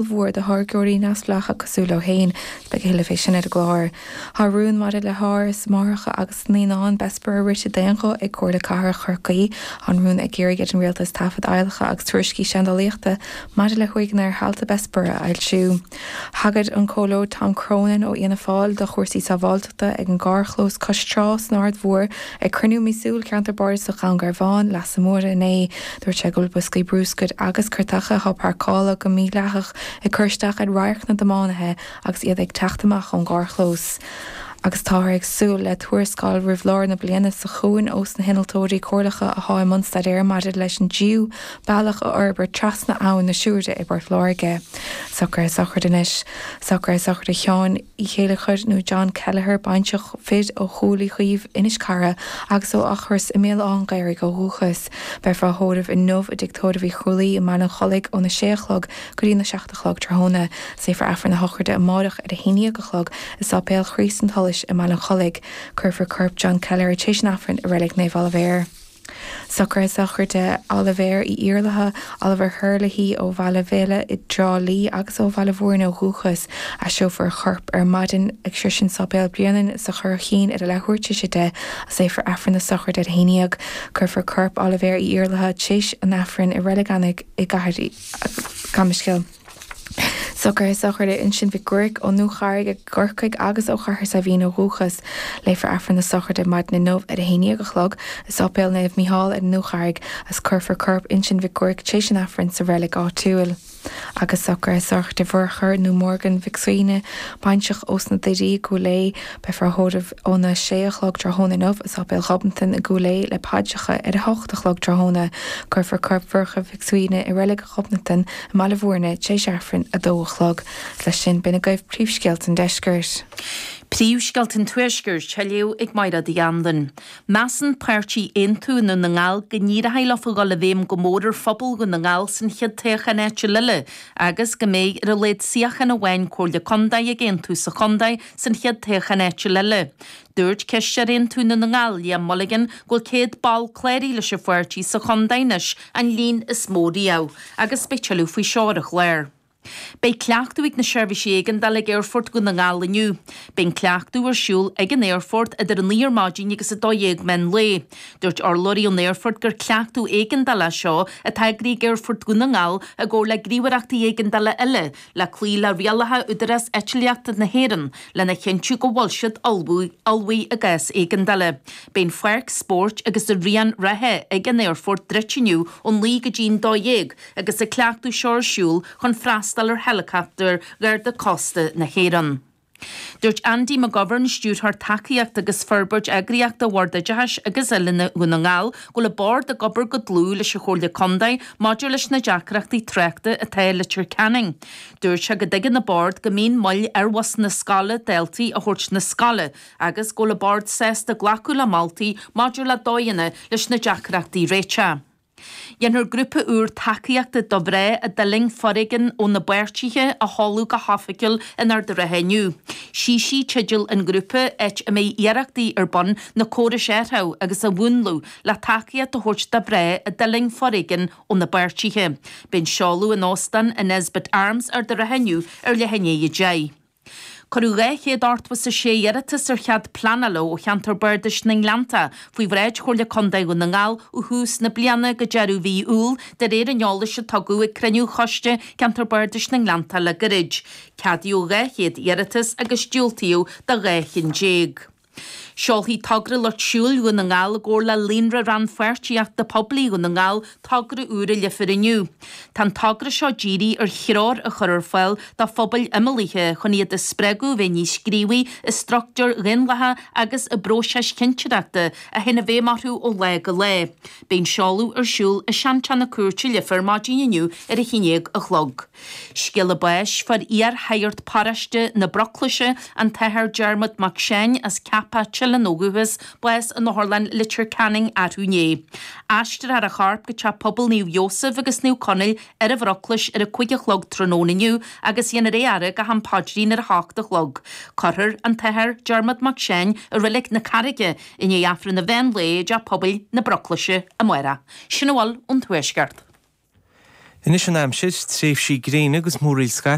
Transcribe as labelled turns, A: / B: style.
A: Ollmhór do tháirgeoirí neamhspleácha cosúil leo féin. Beidh a thuilleadh fé sin ar an gclár. Tá rún maidir le hÁras Máithreacha agus Naíonán Bessborough rite d'aon ghuth ag Comhairle Cathrach Chorcaí. Tá an rún ag iarraidh ar an Rialtas taifid adhlactha agus tuairiscí seandálaíochta maidir le huaigheanna ar thailte Bessborough a fhoilsiú. Thagair an Comhairleoir Tom Cronin ó Fhianna Fáil do chúrsaí sábháilteachta ag an gcarrchlós cois trá san Aird Mhór ag cruinniú míosúil Cheantar Bardasach Dhún Garbhán, Leasa Móire inné. Dúirt sé go bhfuil boscaí brúscair agus cairteacha atá páirceáilte go mídhleathach ag cur isteach ar radharc na dtiománaithe agus iad ag teacht amach ón gcarrchlós. Agus táthar ag súil le tuarascáil roimh lár na bliana seo chugainn ós na hinnealtóirí comhairleacha athá i mbun staidéir maidir leis an dtríú bealach a fhorbairt trasna Abhainn na Siúire i bPort Láirge. Socruithe sochraide anois. Socruithe sochraide Sheáin Uí Chéilleachair nó John Kelleher, baintreach fir ó Chúil Uí Chaoimh, Inis Carra agus ó Eachros i mBéal Átha an Ghaorthaidh ó dhúchas. Beifear á thórramh inniu i dTigh Tórraimh Uí Chrualaoi i mBaile an Chollaigh óna sé a chlog go dtí na 7 a chlog tráthnóna. Léifear Aifreann na sochraide amáireach ar a haon dhéag a chlog i Sáipéal Chríost an tSolais i mBaile an Chollaigh. Cuirfear corp John Kelleher tar éis an Aifrinn i Reilig Naomh Oilibhéar. Socruithe sochraide Oilibhéir Uí Iarlaithe, Oliver Herlihy, ó Bhaile Bhéile i dTrá Lí agus ó Bhaile Mhúirne ó dhúchas. Aistreofar a chorp ar maidin ag Sroisint Sáipéal Bhréanainn sa Churraichín ar a leathuair tar éis 10 agus léifear Aifreann na sochraide ar a haon dhéag. Cuirfear corp Oilibhéir Uí Iarlaithe tar éis an Aifrinn i Reilig Eanaigh i gCathair Cambuscail. Socruithe sochraide Uinseann Mhic Guairic ón nDúcharraig i gCorcaigh agus ó Chathair Saidhbhín ó dhúchas. Léifear Aifreann na sochraide maidin inniu ar a haon dhéag a chlog i Sáipéal Naomh Mícheál ar an nDúcharraig agus cuirfear corp Uinseann Mhic Guairic tar éis an Aifrinn sa reilig áitiúil. Agus socruithe sochraide Mhurchadh nó Morgan Mhic Suibhne, baintreach ós na Doirí i gCúil Aodha. Beifear á thórramh óna sé a chlog tráthnóna inniu i Sáipéal Ghobnatan i gCúil Aodha le paidreacha ar a hocht a chlog tráthnóna. Cuirfear corp Mhurchadh Mhic Suibhne i Reilig Ghobnatan i mBaile Mhúirne tar éis Aifrinn 2 a chlog. Is leis sin, b'in agaibh príomhscéalta an deiscirt.
B: Príomhscéalta an Tuaiscirt á léamh ag Mairéad Uí Anluain. Measann páirtí Aontú i nDún na nGall go n-éireoidh leofa dhul i bhfeidhm go mór ar phobal Dhún na nGall san chéad toghchán áitiúil eile agus go mbeidh ar a laghad suíochán amháin Comhairle Contae ag Aontú sa chontae san chéad toghchán áitiúil eile. Dúirt Cisteoir Aontú i nDún na nGall, Liam Mulligan, go bhfuil 100 ball cláraithe leis an pháirtí sa chontae anois, an líon is mó riamh, agus beidh tuilleadh faoi seo ar an chlár. Beidh cleachtadh ag na seirbhísí éigeandála ag Aerfort Dhún na nGall inniu. Beidh an cleachtadh ar siúl ag an aerfort idir 9 ar maidin agus 12 meán lae. Dúirt urlabhraí ón aerfort gur cleachtadh éigeandála é seo atá eagraithe ag Aerfort Dhún na nGall i gcomhar le gníomhaireachtaí éigeandála eile le cloí le rialacha Údarás Eitlíochta na hÉireann lena chinntiú go bhfuil siad ullmhaithe i gcás éigeandála. Beidh an pháirc spóirt agus an rian reatha ag an aerfort druidte inniu ón 9 go dtí an 12 agus an cleachtadh seo ar siúl chun freastal ar heileacaptair Gharda Cósta na hÉireann. Dúirt Andy McGovern, Stiúrthóir Tacaíochta agus Forbairt Eagraíochta Bhord Oideachais agus Oiliúna Dhún na nGall, go bhfuil an Bord ag obair go dlúth leis an Chomhairle Contae maidir leis na deacrachtaí tráchta atá i Leitir Ceanainn. Dúirt sé go dtuigeann an Bord go mbíonn moill ar bhusanna scoile daltaí a thabhairt 'na scoile agus go bhfuil an Bord sásta glacadh le moltaí maidir le dóigheanna leis na deacrachtaí a réiteach. Déanfar grúpa úr tacaíochta do mhná a d'fhulaing foréigean ó na bpáirtithe a sheoladh go hoifigiúil in Ard an Rátha inniu. Sí-Sí teideal an ghrúpa, áit a mbeidh iarrachtaí ar bun na córais a athrú agus a mhúnlú le tacaíocht a thabhairt do mhná a d'fhulaing foréigean óna bpáirtithe. Beidh an seoladh in Óstán an Nesbitt Arms, Ard an Rátha inniu ar leath i ndiaidh 10. Cuireadh 286 iarratas ar chead pleanála ó Cheantar Bardais na nGleanntach faoi bhráid Chomhairle Contae Dhún na nGall ó thús na bliana go deireadh mhí Iúil, de réir an eolais a tugadh ag cruinniú Choiste Ceantar Bardais na nGleanntach le gairid. Ceadaíodh 200 iarratas agus diúltaíodh do 12 chinn. Seolfaidh Togra Lucht Siúil Dhún na nGall i gcomhar le Líonra Rannpháirtíochta Poiblí Dhún na nGall togra úr i Leifear inniu. Tá an togra seo dírithe ar threoir a chur ar fáil do phobail imeallaithe chun iad a spreagadh a bheith níos gníomhaí i struchtúir dhaonlathacha agus i bpróisis chinnteoireachta a théann i bhfeidhm orthu ó lá go lá. Beidh an seoladh ar siúl i Seanteach na Cúirte Leifear maidin inniu ar a haon déag a chlog. Scéala báis, Fuair iar-shagart paróiste na Broclaise, an tAthair Diarmuid Mac Seáin as Ceapach Teileann ó dhúchas, bás in Otharlann Leitir Ceanainn arú inné. Aistreofar a chorp go Teach Pobail Naomh Iósaf agus Naomh Conaill ar an Bhroclais ar a 5 a chlog tráthnóna inniu agus dhéanfar é a fhaire go ham paidrín ar a hocht a chlog. Cuirfear an tAthair Diarmuid Mac Seáin i Reilig na Carraige i ndiaidh Aifreann an mheán lae i dTeach Pobail na Broclaise amárach. Sin a bhfuil ón Tuaisceart.
C: Anois an aimsir, tréimhsí gréine agus múraíl scaipthe.